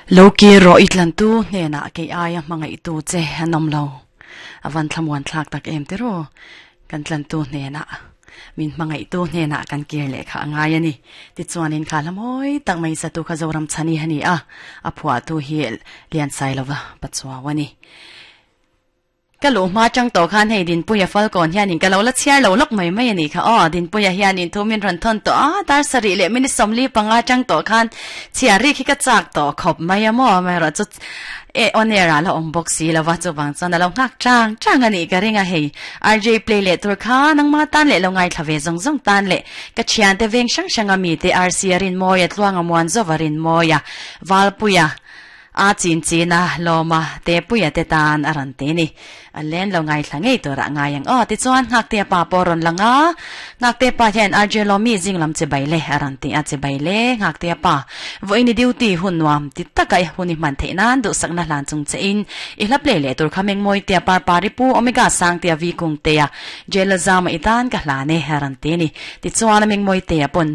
Lo kir rawh i tlantu hnenah kei aia hmangaihtu che an awm lo. A van thlamuan thlak tak em tiraw? Kan tlantu hnenah, min hmangaihtu hnenah kan kir leh kha a ngai a ni. Tichuanin kha hla mawi tak mai satu kha Zoram Chhani a ni a, a phuahtu hi Liansailova Pachuau a ni. Ka luh hma chang tawh khan hei Dinpuia Falkawn hianin ka lo la chhiar lo lawk mai mai a nih kha aw. Dinpuia hianin thu min rawn thawn tawh a, dar sarih leh minute 45 chang tawh khan chhiar rik hi ka chak tawh khawp mai a maw. Amaherawhchu e on air ah la awm bawk si lo va, chuvang chuan a lo nghak chang chang a nih ka ring a hei. RJ play leh tur kha nangma tan leh lo ngaithla ve zawng zawng tan leh ka thiante veng hrang hrang a mite RC a Rinmawia, Tluanga Muanzova Rinmawia, Valpuia, A chin chin a lawm a, Tepuia te tan a rawn ti ni. A len lo ngaithla ngei turah ngai ang aw. Tichuan Nghaktea pa pawh a rawn lang a, Nghaktea pa hian RJ Lawmi zing lam chibai le a rawn ti a, chibai le Nghaktea pa, vawiin i duty hun nuam ti taka i hun i hman theih nan duhsakna hlan chung che in i hla play leh tur kha Mengmawitea Parpari Pu Omega Sangtea Vi Kungtea Jail a zama i tan ka hlan e a rawn ti ni. Tichuan a Mengmawitea pawn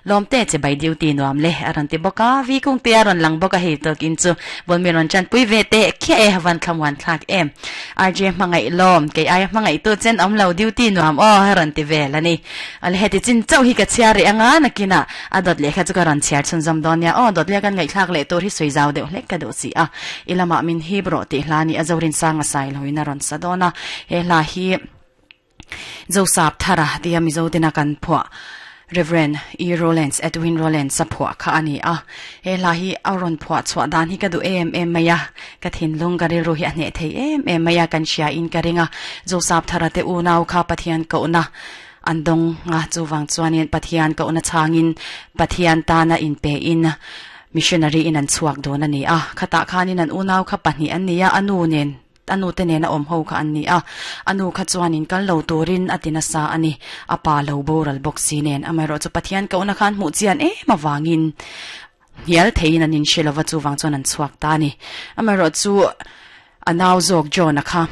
Lawmte che bai duty nuam le a rawn ti bawk a, Vi Kungte a rawn lang bawk a hei tawkin chu Bawlmi rawn chanpui ve teh khiah e, van thlamuan thlak em. RJ hmangaih lawm, kei aia hmangaihtu chen awm lo duty nuam aw a rawn ti vel a ni. Awle heti chin chauh hi ka chhiar rih anga nakinah a dawt leh kha chu ka rawn chhiar chhunzawm dawn nia aw, dawt leh kan ngaihthlak leh tur hi sawi zau deuh hlek ka duh si a, i lamah min hip rawh tih hla ni a Zorinsanga Sailoin a rawn sa dawn a, he hla hi. Joseph Thara tia Mizo tena kan phuah Rev. E. Rowlands, Edwin Rowlands a phuah kha a ni a. He hla hi a rawn phuah chhuah dan hi ka duh em em mai a, ka thinlung ka rilru hi a hneh thei em em mai a, kan hria in ka ring a. Joseph Thara te unau kha Pathian kohna an dawng a, chuvang chuanin Pathian kohna chhangin Pathian tana inpe in missionary in an chhuak dawn a ni a. Khatah khanin an unau kha pahnih an ni a, a nu nen A nu te nena awm ho kha an ni a, a nu kha chuanin kal lo turin a ti nasa a ni. A pa lo boral bawk si nen, amaherawhchu Pathian kohna khan hmuh chian em avangin hnial theiin an inhre lova, chuvang chuan an chhuak ta a ni. Amaherawhchu a nau zawk John-a kha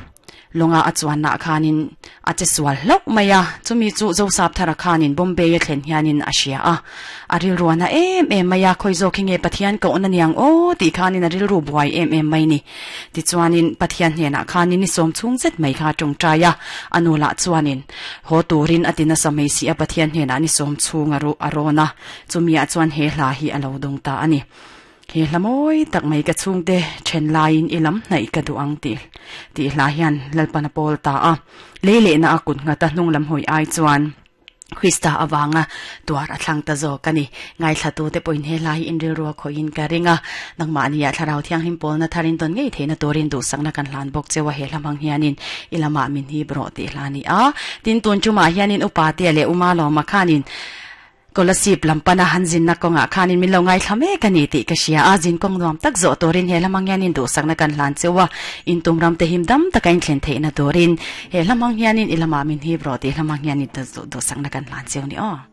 lawnga a chuannaah khanin A che sual hlauh mai a, chumi chu Zosap Thara khanin Bombay a thlen hianin a hria a. A rilru a na em em mai a, khawi zawk hi nge Pathian kohna niang aw tih khanin a rilru buai em em mai ni. Tichuanin Pathian hnenah khanin ni sawm chhung zet mai kha a tawngtai a, a nu lah chuanin haw turin a ti nasa mai si a, Pathian hnenah ni sawm chhung a ruh a rawn a, chumiah chuan he hla hi a lo dawng ta a ni. He hla mawi tak mai ka chhungte then laiin i lam hnaih ka duh ang tih tih hla hian Lalpan a pawl ta a. Lei lehna a kut nghat a hnung lam hawi ai chuan Krista avanga tuar a thlang ta zawk a ni. Ngaithlatute pawhin he hla hi inrilru a khawih in ka ring a. Nangmahnia Thlarau Thianghlim pawlna tharin tawn ngei theihna turin duhsakna kan hlan bawk cheu a he hla hmang hianin i lamah min hip rawh tih hla a ni a. Tin, tun tumah hianin Upatea leh Uma Lawma khanin Kolasib lam pana han zinna kawngah khanin min lo ngaithla mek a ni tih ka hria a, zin kawng nuam tak zawh turin he hlamang hianin duhsakna kan hlan cheu a, in tum ram te him dam taka in thlen theihna turin he hlamang hianin i lamah min hip rawh tih hlamang hianin duhsakna kan hlan cheu ni aw.